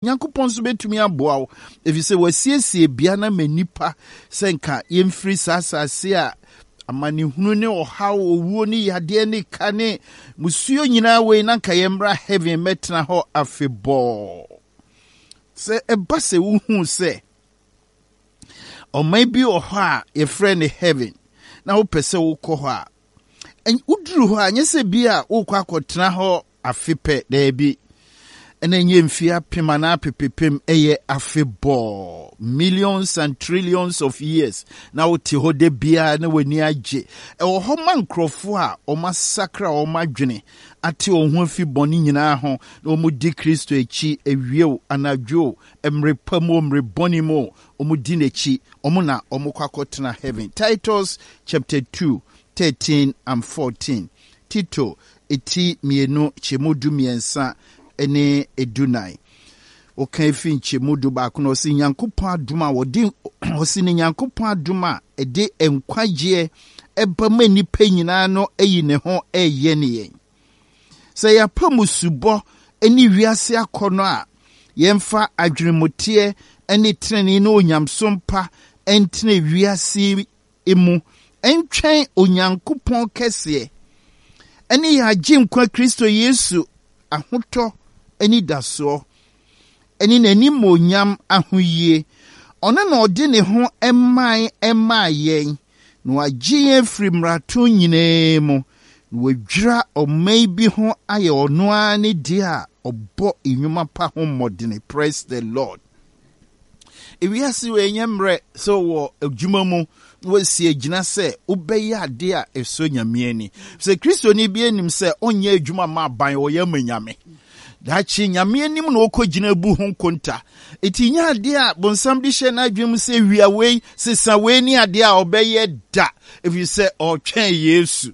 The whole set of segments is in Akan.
Nyankopɔn nso bɛtumi aboa wo, ɛfiri sɛ wasiesie bea no ama nnipa sɛ nka yɛmfiri saa asase a amanehunu ne ɔhaw, owuo ne yadeɛ ne ka ne musuo nyinaa wei na nka yɛmmra heaven mmɛtena hɔ afebɔɔ. Sɛ ɛba sɛ wohu sɛ ɔman bi wɔ hɔ a yɛfrɛ no heaven na wopɛ sɛ wokɔ hɔ a, woduru hɔ a nyɛ sɛ bi a wokɔ akɔtena hɔ afe pɛ, daabi. Ɛna ɛnyɛ mfie apem anaa apepepem, ɛyɛ afebɔɔ, millions and trillions of years, na wote hɔ da biara na w'ani agye. Ɛwɔ hɔ ma nkurɔfoɔ a wɔasakra wɔn adwene, ate wɔn ho afi bɔne nyinaa ho, na wɔdi Kristo akyi awia o, anadwo o, mmere pa mu o, mmere bɔne mu o, wɔdi n'akyi, wɔn na wɔkɔ akɔtena heaven. Titus chapter 2, 13 and 14. Tito ti mmienu nkyɛmu du mmiɛnsa ne du nan. Woka efi nkyɛmu 11 no, ɔsi Nyankopɔn adom a wɔde ɔsi ne Nyankopɔn adom a ɛde nkwagyeɛ ɛba ma nnipa nyinaa no ayi ne ho ɛreyɛ ne yɛn. Sɛ yɛapa mmusubɔ ne wiase akɔnnɔ a, yɛmfa adwenemuteɛ ne tenenee ne onyamesom pa ntena wiase mu ntwɛn Onyankopɔn kɛseɛ ne yɛn Agyenkwa Kristo Yesu ahotɔ anidasoɔ ne n'animuonyam ahoyie. Ɔno na ɔde ne ho mae maa yɛn, na wagye yɛn afiri mmarato nyinaa mu, na wadwira ɔman bi ho ayɛ ɔno ara ne deɛ a ɔbɔ nnwuma pa ho mmɔdene. Praise the Lord. Ewiase wei ɛnyɛ mmerɛ sɛ wɔ adwuma mu na wasi agyina sɛ wobɛyɛ adeɛ a ɛsɔ Nyame ani. Sɛ Kristoni bi anim sɛ ɔnyɛ adwuma ma aban, ɔyɛ ama Nyame. Daakye Nyame anim na ɔkɔgyina bu ho nkonta. Enti nyɛ adeɛ a bonsam de hyɛ n'adwene mu sɛ wia wei, sesa wei ne adeɛ a ɔbɛyɛ da, ɛfiri sɛ ɔretwɛn Yesu.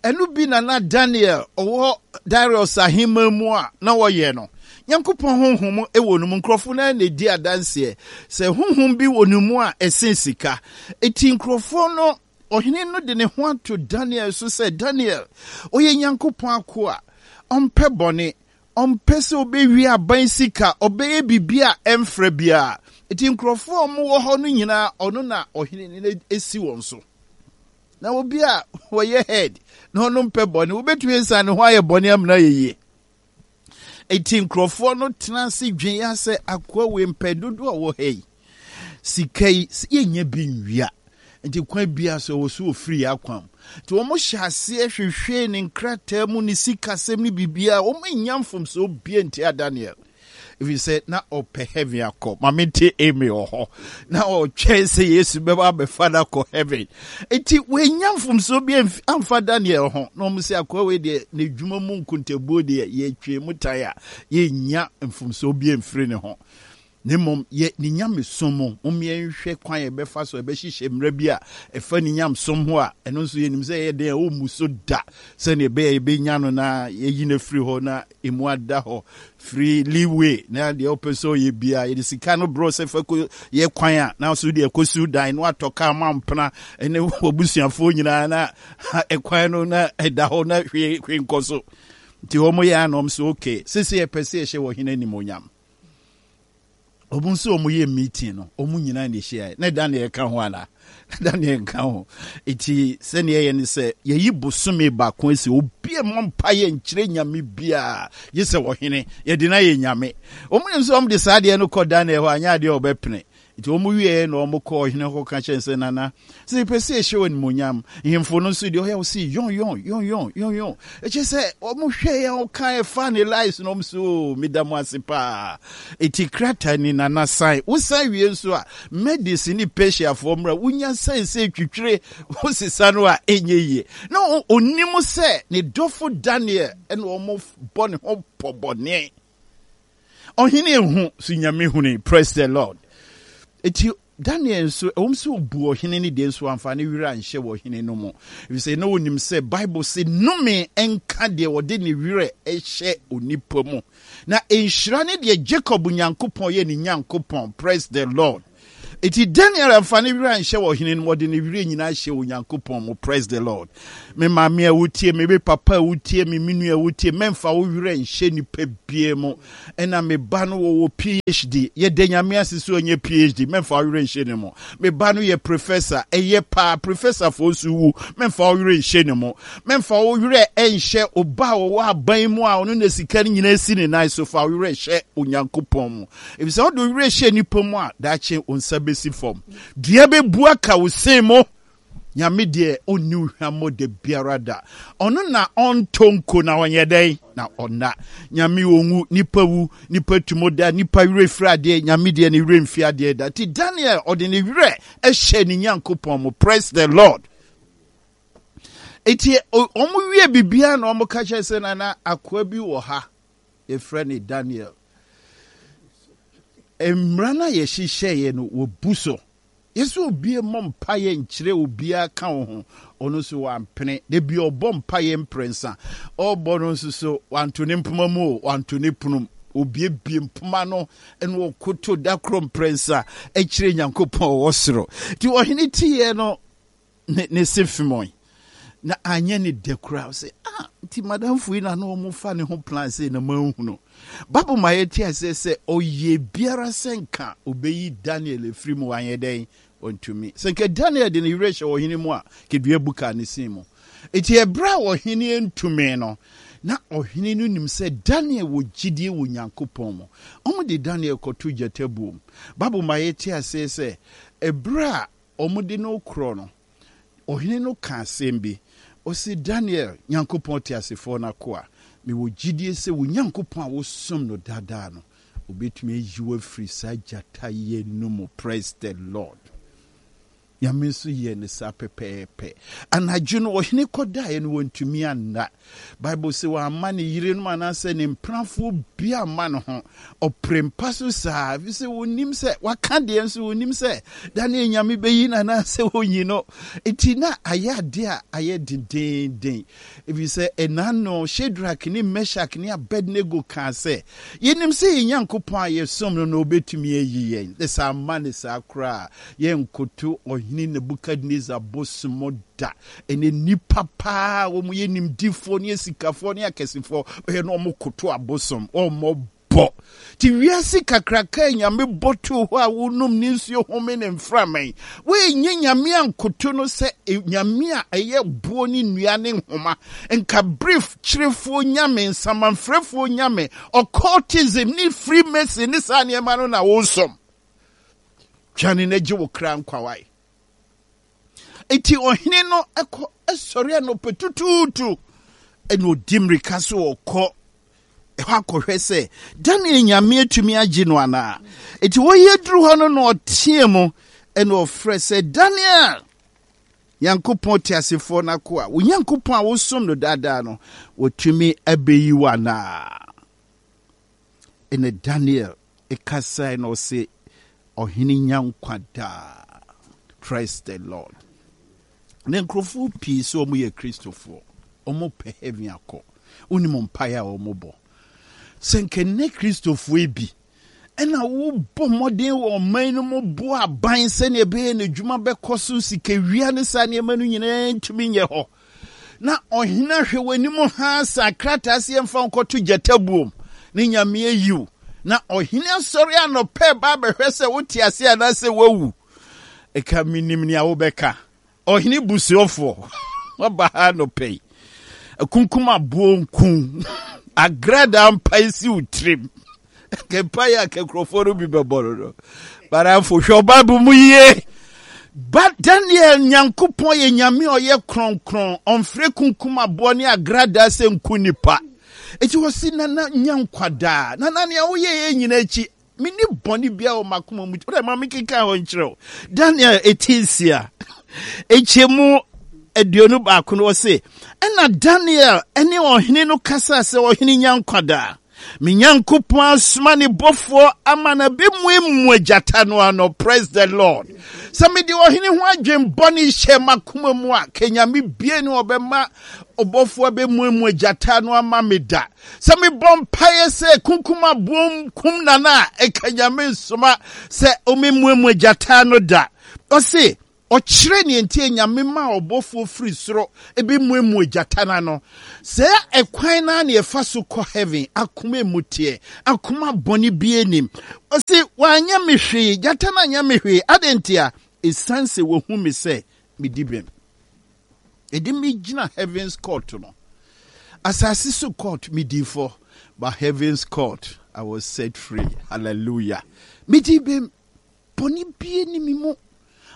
Ɛno bi na na Daniel ɔwɔ Darius ahemman mu a na ɔyɛ no. Nyankopɔn honhom wɔ no mu. Nkurɔfo no ara na ɛdi adanseɛ sɛ honhom bi wɔ ne mu a ɛsen sika. Enti nkurɔfoɔ no, ɔhene no de ne ho ato Daniel so sɛ, Daniel, ɔyɛ Nyankopɔn akoa, ɔmpɛ bɔne, ɔmpɛ sɛ ɔbɛwie aban sika, ɔbɛyɛ biribi a ɛmfra biara. Enti nkurɔfoɔ a wɔwɔ hɔ no nyinaa, ɔno na ɔhene no asi wɔn so. Na obi a wɔyɛ head na ɔno mpɛ bɔne, wobɛtumi asiane ne ho ayɛ bɔne amena ayɛ yie. Enti nkurɔfoɔ no tena ase dwen ya sɛ akoa wei mpɛ dodoɔ a wɔ ha yi. Sika yi, yɛnyɛ bi nwia. Nti kwan biara so ɛwɔ so wɔfiri yɛ akwam. Nti wɔn hyɛ aseɛ hwehwee ne nkrataa mu, ne sikasɛm ne biribiara. Wɔn annya mfomsoɔ biara ntia Daniel. Ɛfiri sɛ na ɔpɛ heaven akɔ. Ma mente amen wɔ hɔ. Na ɔtwɛn sɛ Yesu bɛba abɛfa no akɔ heaven. Nti wɔanya mfomsoɔ bi amfa Daniel ho. Na wɔn sɛ akoa wei deɛ n'adwuma mu nkontabuo deɛ yɛtwe mu tan a yɛnnya mfomsoɔ bi amfiri ne ho. Na mmom yɛ ne nyamesom mu. Mom yɛnhwɛ kwan a yɛbɛfa so ɛbɛhyehyɛ mmara bi a ɛfa ne nyamesom ho a ɛno nso yɛnim sɛ ɛyɛ den a ɔmmu so da sɛdeɛ ɛbɛyɛ yɛbɛnya no na yɛyi no afiri hɔ na emu ada hɔ free leeway na deɛ ɔpɛ sɛ ɔyɛ biara yɛde sika no brɛ sɛ fa kɔ yɛ kwan a na so deɛ kɔsiw dan na watɔ kaa ma mpena ne wabusuafoɔ nyinaa na ɛkwan no na ɛda hɔ na hwee hwee nkɔ so nti wɔn yɛ anam so okay sese yɛpɛ sɛ yɛhyɛ wɔ hene animonyam wɔn nso wɔn yɛ meeting no wɔn nyinaa na ɛhyia na Daniel ka ho ana Daniel nka ho eti sɛnea ɛyɛ ne sɛ yɛyi bosome baako asi obi a mmɔ mpa yɛ nkyerɛ nyame biara gye sɛ ɔhene yɛde no ayɛ nyame wɔn nim sɛ wɔn de saa adeɛ no kɔ Daniel hɔ anyɛ adeɛ a ɔbɛpene nti wɔn wieɛ na wɔn kɔ ɔhene hɔ ka kyerɛ sɛ nana Sɛ yɛpɛ sɛ yɛhyɛ wɔn animuonyam. Nhemfo no nso deɛ ɔyɛ wɔsi yɔn yɔn yɔn yɔn yɔn yɔn. Ɛkyɛ sɛ wɔn hwɛ yɛn wɔn ka ɛfa ne lies na wɔn so oh, meda mo ase paa. Eti krataa ni nana san. Wosan wie nso a Medes ne Persiafoɔ mmra wonya san sɛ twitwire wosesa no a ɛnyɛ yie. Na onim sɛ ne dɔfo Daniel ɛna wɔn bɔ ne ho pɔ bɔne. Ɔhene ehu so nyame huni praise the Lord. Eti Daniel nso, ɛwom sɛ obu ɔhene no deɛ, nso wamfa ne werɛ anhyɛ wɔ ɔhene no mu, efisɛ na onim sɛ Bible se nnome nka deɛ ɔde ne werɛ hyɛ onipa mu, na nhyira ne deɛ Jacob Nyankopɔn yɛ ne Nyankopɔn. Praise the Lord. Enti Daniel amfa ne werɛ anhyɛ ɔhene no mu, ɔde ne werɛ nyinaa hyɛɛ Onyankopɔn mu. Praise the Lord. Me maame a wotie me, me papa a wotie me, me nua a wotie, mɛmfa wo werɛ nhyɛ nipa bie mu. Ɛna me ba no wɔwɔ PhD, yɛda Nyame ase sɛ ɔnyɛ PhD, mɛmfa wo werɛ nhyɛ ne mu. Me ba no yɛ professor, ɛyɛ paa, professorfoɔ nso wu, mɛmfa wo werɛ nhyɛ ne mu. Mɛmfa wo werɛ nhyɛ ɔba a ɔwɔ aban mu a ɔno na sika no nyinaa si ne nan so, fa wo werɛ hyɛ Onyankopɔn mu. Efisɛ wode wo werɛ hyɛ nnipa mu a, daakye wo nsa bɛsi fam. Dua bɛbu aka wo sen mu. Nyame deɛ ɔnni wo hwammɔ da biara da. Ɔno na ɔntɔ nko na ɔnyɛ dɛn? Na ɔnna. Nyame ɔnwu, nipa wu, nipa tumu da, nipa werɛ firi adeɛ, Nyame deɛ ne werɛ mfi adeɛ da. Nti Daniel ɔde ne werɛ hyɛ ne Nyankopɔn mu. Praise the Lord. Nti wɔn wie biribiara na wɔn ka kyerɛ sɛ nana akoa bi wɔ ha yɛfrɛ no Daniel. Mmara no a yɛhyehyɛeɛ no wɔbu so. Yɛsɛ obi mmɔ mpaeɛ nkyerɛ obiara ka wo ho. Ɔno nso wampene. Da bi ɔbɔ mpaeɛ mprɛnsa. Ɔrebɔ no nso so wanto ne mpoma mu o, wanto ne pono mu. Obiebie mpoma no na ɔkoto da koro mprɛnsa kyerɛ Nyankopɔn ɔwɔ soro. Nti ɔhene teeɛ no ne ne se femɔe na anyɛ ne dɛ koraa sɛ ah nti madamfo yi na na wɔn fa ne ho plan sɛ na manhunu Bible ma yɛte aseɛ sɛ ɔyɛ biara sɛ nka ɔbɛyi Daniel afiri mu wanyɛ dɛn ɔntumi sɛ nka Daniel de ne werɛ hyɛ ɔhene mu a kedua bu kaa ne sin mu nti ɛberɛ a ɔhene ntumi no na ɔhene no nim sɛ Daniel wɔ gyidie wɔ Nyankopɔn mu. Wɔn de Daniel kɔto gyata buom. Bible ma yɛte aseɛ sɛ ɛberɛ a Wɔde no rekorɔ no, ɔhene no kaa asɛm bi. Ɔse, Daniel, Nyankopɔn teasefoɔ no akoa, mewɔ gyidie sɛ wo Nyankopɔn a wosom no daa daa no, ɔbɛtumi ayi wo afiri saa gyata yi no mu. Praise the Lord. Nyame nso yɛɛ no saa pɛpɛɛpɛ. Anadwo no, ɔhene kɔdaeɛ no, wantumi anna. Bible se wamma ne yerenom anaasɛ ne mpenafoɔ bi amma ne ho. Ɔpere mpa so saa, ɛfiri sɛ wɔnim sɛ waka deɛ nso wɔnim sɛ Daniel Nyame bɛyi no anaasɛ ɔnyi no. Enti na ayɛ adeɛ a ayɛ dendeenden, ɛfiri sɛ ɛna no Shadrach ne Meshach ne Abednego kaa sɛ, Yɛnim sɛ yɛn Nyankopɔn a yɛsom no no ɔbɛtumi ayi yɛn, na sɛ amma no saa koraa a, yɛrenkoto Ɔhene Nebukadnesar bosom da. Ɛnɛ nnipa paa wɔn yɛ nimdifoɔ ne asikafoɔ ne akɛsefoɔ bɛyɛ na wɔn koto abosom wɔn bɔ te wiase kakraka a nyame bɔ too hɔ a wonom ne nsuo home ne mframa yi woenye nyame ankoto no sɛ e, nyame a ɛyɛ boɔ ne nnua ne nhoma nka brief kyerefoɔ nyame nsamanfrɛfoɔ nyame occultism ne freemason ne saa nneɛma no na wosom twane na gye wo kra nkwawae Enti ɔhene no kɔ sɔre anɔpa tutuutu ɛna ɔdi mmirika so ɔkɔ ɛhɔ akɔhwɛ sɛ Daniel nyame atumi agye no anaa. Enti wɔyɛ duru hɔ no na ɔteɛ mu ɛna ɔfrɛ sɛ Daniel, Nyankopɔn teasefoɔ no akoa, wo Nyankopɔn a wosom no daadaa no, wɔtumi abɛyi wo anaa? Ɛna Daniel kasae na ɔse, Ɔhene nya nkwa daa. Praise the Lord. Na nkurɔfoɔ pii sɛ wɔn yɛ Kristofoɔ, wɔn pɛ heaven akɔ. Wonim mpaeɛ a wɔn bɔ. Sɛ nka nnɛ Kristofoɔ yi bi ɛna wobɔ mmɔden wɔ ɔman no mu boa aban sɛnea ɛbɛyɛ n'adwuma bɛkɔ so, sikawia ne saa nneɛma no nyinaa ntumi nyɛ hɔ. Na ɔhene ahwɛ w'anim haa sa krataa sɛ yɛmfa wo nkɔto gyata buom ne nyame ayi wo. Na ɔhene asɔre anɔpɛ ba abɛhwɛ sɛ wote ase anaasɛ woawu. Ɛka menim nea wobɛka. Ɔhene busuafoɔ, waba ha anɔpɛ yi. Akunkum aboɔ nku. Agradaa mpae si wo tirim. Mpaeɛ a nkurɔfoɔ no bi bɛbɔ no no. Baramfo, hwɛ Bible mu yie. Ba Daniel Nyankopɔn yɛ nyame a ɔyɛ kronkron, ɔmfrɛ kunkum aboɔ ne agradaa sɛ nku nipa. Eti wɔsi nana nya nkwadaa. Nana nea woyɛ yɛ nyina akyi, menni bɔne biara wɔ m'akoma mu. Wodɛ ma mekenkan hɔ nkyerɛ wo. Daniel eti nsia, nkyɛmu 21 no ɔse, ɛna Daniel ne ɔhene no kasaa sɛ ɔhene nya nkwadaa. Me Nyankopɔn asoma ne bɔfoɔ ama no abɛmuamua gyata no ano. Praise the Lord. Sɛ mede ɔhene ho adwen bɔne hyɛ m'akoma mu a, ka Nyame bie ne ɔbɛma ɔbɔfoɔ abɛmuamua gyata no ama me da. Sɛ mebɔ mpaeɛ sɛ kunkum aboom kum nana a, ɛka Nyame nsoma sɛ ɔmɛmuamua gyata no da. Ɔse, Ɔkyerɛ nea enti a Nyame maa ɔbɔfoɔ firi soro bɛmuamua gyata no ano. Saa ɛkwan no ara na yɛfa so kɔ heaven, akoma emu teɛ, akoma bɔne biara nnim. Ɔse, wanyɛ me hwee, gyata no anyɛ me hwee, adɛn ntia? Ɛsiane sɛ wahu me sɛ medi bem. Ɛde me gyina heaven's court no. Asase so court, medi fɔ, but heaven's court, I was set free. Hallelujah. Medi bem. Bɔne biara nni me mu.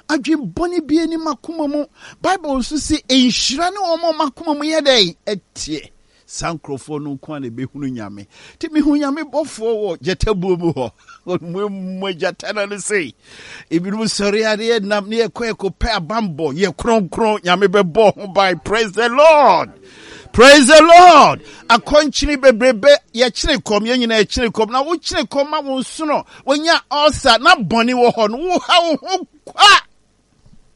Adwen bɔne biara nni m'akoma mu. Bible nso se, nhyira ne wɔn a wɔn akoma mu yɛ dɛn? Ɛteɛ. Saa nkurɔfoɔ no nko ara na ɛbɛhunu Nyame. Nti mehu Nyame bɔfoɔ wɔ gyatabuo mu hɔ. Ɔmuamua gyata no ano sei. Ebinom sɔre a ne yɛnam ne yɛkɔ yɛkɔpɛ abanbɔ. Yɛ kronkron. Nyame bɛbɔ ho ban. Praise the Lord. Praise the Lord. Akɔnkyene bebrebe yɛkyene kɔm yɛn nyinaa yɛkyene kɔm na wokyene kɔm ma wo nsono wonya ɔsa na bɔne wɔ hɔ no woha wo ho kwa.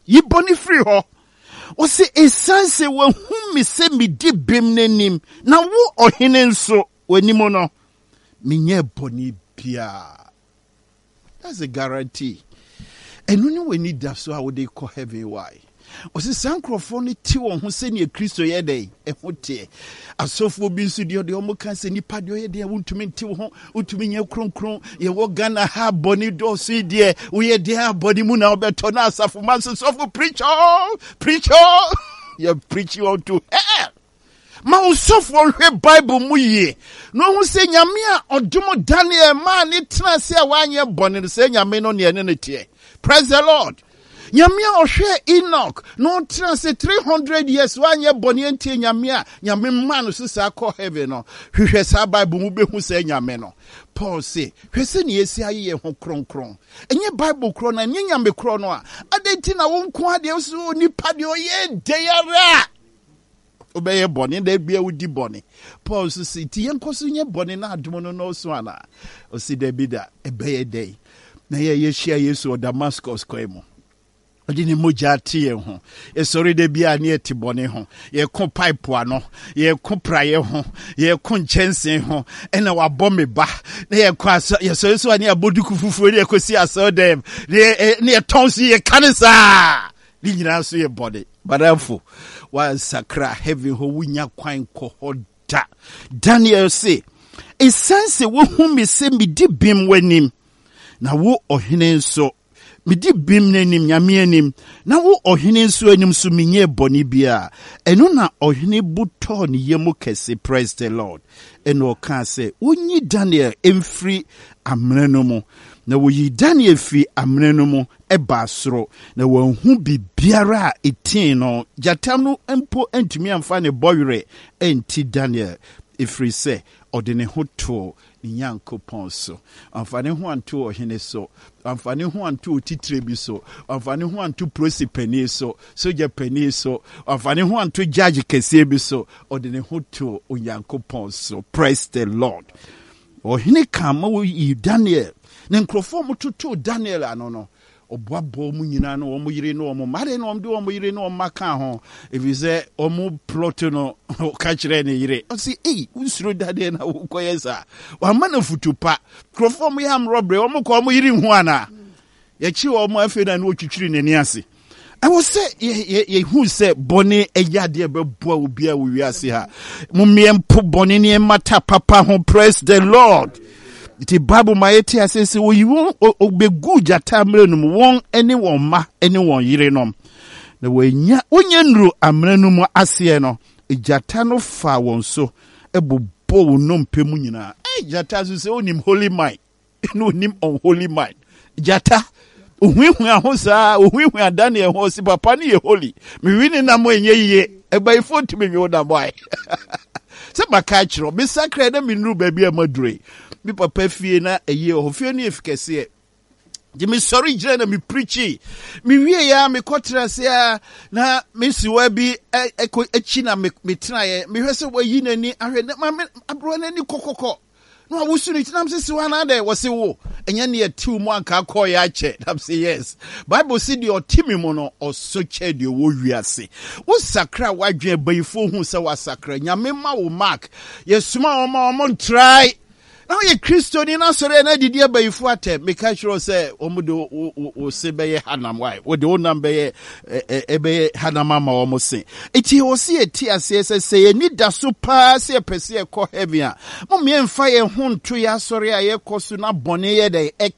Yi bɔne firi hɔ. Ɔse ɛsiane sɛ wahu me sɛ medi bem n'anim na wo ɔhene nso w'anim no menyɛ bɔne biara. That's a guarantee. Ɛno ne w'anidaso a wode kɔ heaven why? Ɔsɛ saa nkurɔfoɔ no te wɔn ho sɛdeɛ Kristo yɛ dɛn ɛho teɛ. Asɔfoɔ bi nso deɛ ɔdeɛ wɔn ka sɛ nipa deɛ ɔyɛ deɛ wontumi nte wo ho, wontumi nyɛ kronkron. Yɛwɔ Ghana ha bɔne dɔɔso yi deɛ woyɛ deɛ a bɔne mu na wobɛtɔ na asafo ma nso sɔfo preach all, preach all. Yɛ preach unto hell. Ma wo sɔfoɔ nhwɛ Bible mu yie na ɔhu sɛ Nyame a ɔdom Daniel maa ne tena ase a wanyɛ bɔne no, sɛ Nyame no neɛ ne no teɛ. Praise the Lord. Nyame a ɔhwɛ Enoch na ɔtena ase 300 years wanyɛ bɔne antie Nyame a Nyame maa no so saa kɔ heaven no, hwehwɛ saa Bible mu bɛhu sɛ Nyame no. Paul se, hwɛ sɛnea yɛsi ayɛ yɛn ho kronkron. Ɛnyɛ Bible korɔ no, ɛnyɛ Nyame korɔ no a, adɛn nti na wo nko adeɛ wo sɛ onipa deɛ ɔyɛ dɛn ara a wobɛyɛ bɔne da bia wodi bɔne. Paul nso se, nti yɛnkɔ so nyɛ bɔne na adom no nnɔɔso anaa? Ɔse, dabi da, ɛbɛyɛ dɛn na yɛ yɛhyia Yesu wɔ Damascus kwan mu? Ɔde ne mogya ate yɛn ho. Yɛsɔre da bi a ne yɛte bɔne ho. Yɛko pipe ano, yɛko praeɛ ho, yɛko nkyɛnse ho, ɛna wabɔ me ba. Na yɛkɔ asɔ, yɛsɔre so a ne yɛabɔ duku fufuo ne yɛkɔsi asɔre dɛm, ne yɛtɔn so yɛka ne saa. Ne nyinaa nso yɛ bɔne. Madamfo, woansakra heaven hɔ, wonya kwan kɔ hɔ da. Daniel se, Esiane sɛ woahu me sɛ medi bem w'anim, na wo ɔhene nso, medi bem n'anim, Nyame anim, na wo ɔhene nso anim nso menyɛɛ bɔne biara. Ɛno na ɔhene bo tɔɔ ne yam kɛse, praise the Lord, ɛna ɔkaa sɛ, wonyi Daniel mfiri amena no mu. Na woyii Daniel firi amena no mu, baa soro, na wanhu biribiara a etii no. Gyata no mpo antumi amfa ne bɔwerɛ anti Daniel, ɛfiri sɛ ɔde ne ho too ne Nyankopɔn so. Wamfa ne ho anto ɔhene so, wamfa ne ho anto otitire bi so, wamfa ne ho anto polisi panin so, sogya panin so, wamfa ne ho anto judge kɛseɛ bi so, ɔde ne ho too Onyankopɔn so. Praise the Lord. Ɔhene kaa ma woyii Daniel ne nkurɔfoɔ a wɔtotoo Daniel ano no. Ɔboaboa wɔn nyinaa ne wɔn yere ne wɔn mma. Adɛn na wɔde wɔn yere ne wɔn mma kaa ho? Ɛfiri sɛ wɔn plɔto no, ɔka kyerɛɛ ne yere. Ɔse, ei, wonsuro Daniel na wokɔyɛ saa? Wamma no afutu pa. Nkurɔfoɔ a wɔyɛ amrɔbrɛ, wɔkɔ wɔn yere nhu anaa? Yɛkye wɔn afei na ne wɔtwitwiri n'ani ase. Ɛwɔ sɛ yɛhu sɛ bɔne ɛyɛ adeɛ ɛbɛboa obiara wɔ wiase ha. Mommeɛ mpo bɔne ne ɛmmata papa ho. Praise the Lord. Nti Bible ma yɛte ase sɛ oyi wɔn ɔbɛgu gyata mmerɛ no mu wɔn ne wɔn mma ne wɔn yerenom. Na wɔanya wɔnyɛ nnuru amena no mu aseɛ no, gyata no faa wɔn so bobɔɔ wɔn nnompe mu nyinaa. Ɛy gyata nso sɛ onim holy mind. na onim unholy mind gyata ohuahua ho saa ohuahua Daniel ho ɔsi papa no yɛ holy mewi ne nam ɛnyɛ yie ɛbayifo ntumi nwe wo nam ae sɛ maka akyerɛ mesakra na menuru baabi a madure me papa fie na ɛyie wɔ hɔ fie no yɛ fi kɛseɛ nti mesɔre gyina na mepirikyi mewie ya mekɔtena ase a na mesiwa bi ɛkɔ akyi na metenaeɛ mehwɛ sɛ wayi n'ani ahwɛ na maame aberewa n'ani kɔkɔkɔ. Na wawosu ne ti nam sɛ si hɔ anaa dɛ wɔse wo ɛnyɛ ne ɛtew mu anka akɔɔyɛ akyɛ. Nam sɛ yes. Bible se deɛ ɔte me mu no ɔso kyɛ deɛ ɔwɔ wiase. Wo sakra w'adwene abayifoɔ hu sɛ wasakra. Nyame ma wo mark. Yɛsoma wɔn ma wɔn ntrae. Na woyɛ Kristoni na asɔre a na adidi abayifo atɛm. Meka kyerɛ wo sɛ wɔn de wo se bɛyɛ hanam wae. Wode wo nam bɛyɛ ɛbɛyɛ hanam ama wɔn se. Eti wɔ se yɛte aseɛ sɛ sɛ yɛn ani da so paa sɛ yɛpɛ sɛ yɛkɔ heaven a, mom yɛmfa yɛn ho nto yɛn asɔre a yɛkɔ so na bɔne yɛ dɛn ɛka.